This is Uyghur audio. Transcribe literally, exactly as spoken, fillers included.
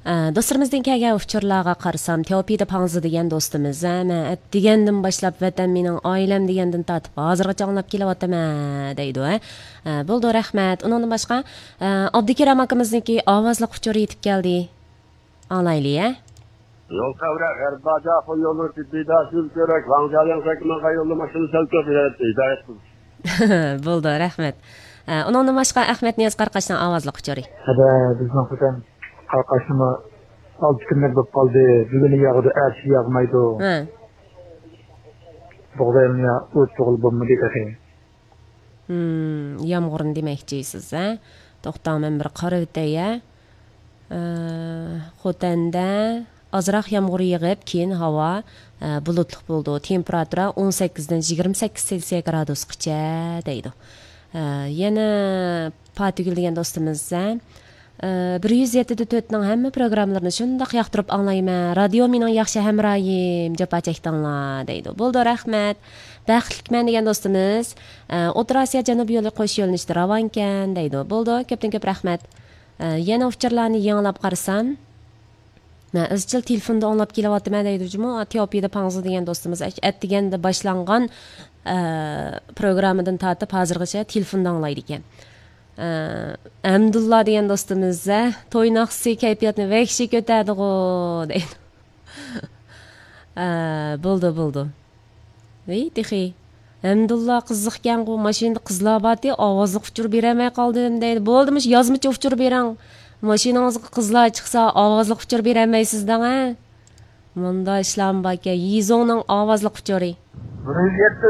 ئە، دوستلىرىمىزدىن كەلگەن ئۇچۇرلارغا قارىسام، تياۋپىدە پاڭزى دېگەن دوستىمىز، ھە، مەن ئەتىگەندىن باشلاپ ۋەتەن مېنىڭ ئائىلەم دېگەندىن تارتىپ ھازىرغىچە ئاڭلاپ كېلىۋاتىمەن، دەيدۇ، ھە. ئە، بولىدۇ، رەھمەت. ئۇنىڭدىن باشقا، ئە، ئابدۇكېرەم ئاكىمىزنىڭكى ئاۋازلىق ئۇچۇرى يېتىپ كەلدى. ئاڭلايلى، ھە. يول تەۋرە، غەرب باجاق، يوللىرى جىددىي داشىل كۆرەك، ۋاڭجالىڭ سەكمەنغا يوللىما شۇنى سەل كۆپ ھىدايەت قىلىڭ. بولىدۇ، رەھمەت. ئە، ئۇنىڭدىن باشقا ئەخمەت نىياز قاراقاشنىڭ ئاۋازلىق ئۇچۇرى. ھەدە، بىزنىڭ خوتەن قاراقاشنىمۇ ئالتە كۈنلۈك بولۇپ قالدى. بۈگۈن ياغىدۇ، ئەتىسى ياغمايدۇ. ھە. بۇغداينى ئۇرۇپ تۇغۇل بولمىدى تېخى. ھىم، يامغۇرنى دېمەكچىسىز، ھە؟ توختاڭ، مەن بىر قارىۋېتەي، ھە؟ ئە، خوتەندە ئازراق يامغۇر يېغىپ، كېيىن ھاۋا، ئە، بۇلۇتلۇق بولىدۇ. تېمپېراتۇرا ئون سەككىزدىن يىگىرمە سەككىز سېلسىيە گرادۇسقىچە دەيدۇ. ئە، يەنە پاتىگۈل دېگەن دوستىمىز، ھە؟ ئە، بىر يۈز يەتتە دە تۆتنىڭ ھەممە پروگراممىلىرىنى شۇنداق ياقتۇرۇپ ئاڭلايمەن. رادىيو مېنىڭ ياخشى ھەمراھىم، جاپا چەكتىڭلار، دەيدۇ. بولىدۇ، رەھمەت. بەختلىكمەن دېگەن دوستىمىز، ئە، ئوتتۇرا ئاسىيا جەنۇبىي يولى قوش يۆنىلىشتە راۋانكەن، دەيدۇ. بولىدۇ، كۆپتىن كۆپ رەھمەت. ئە، يەنە ئۇچۇرلارنى يېڭىلاپ قارىسام، مەن ئىزچىل تېلېفوندا ئاڭلاپ كېلىۋاتىمەن دەيدۇ جۇمۇ، تياۋپىدە پاڭزى دېگەن دوستىمىز. ئەتىگەندە باشلانغان، ئە، پروگراممىدىن تارتىپ ھازىرغىچە تېلېفوندا ئاڭلايدىكەن. ئە، ئەمدۇللا دېگەن دوستىمىز، ھە، توي ناخشىسى كەيپىياتنى ۋەھشىي كۆتەردىغۇ دەيدۇ. ئە، بولدى، بولدى. ۋەي، تېخى. ھەمدۇللا قىزىقكەنغۇ، ماشىنىدا قىزلار بارتى، ئاۋازلىق ئۇچۇر بېرەلمەي قالدىم دەيدۇ. بولدى، مۇشۇ يازمىچە ئۇچۇر بېرىڭ. ماشىنىڭىزغا قىزلار چىقسا، ئاۋازلىق ئۇچۇر بېرەلمەيسىز دەڭ، ھە؟ مۇنداق ئىشلارمۇ باركەن. يىزوڭنىڭ ئاۋازلىق ئۇچۇرى. بىر يۈز يەتتە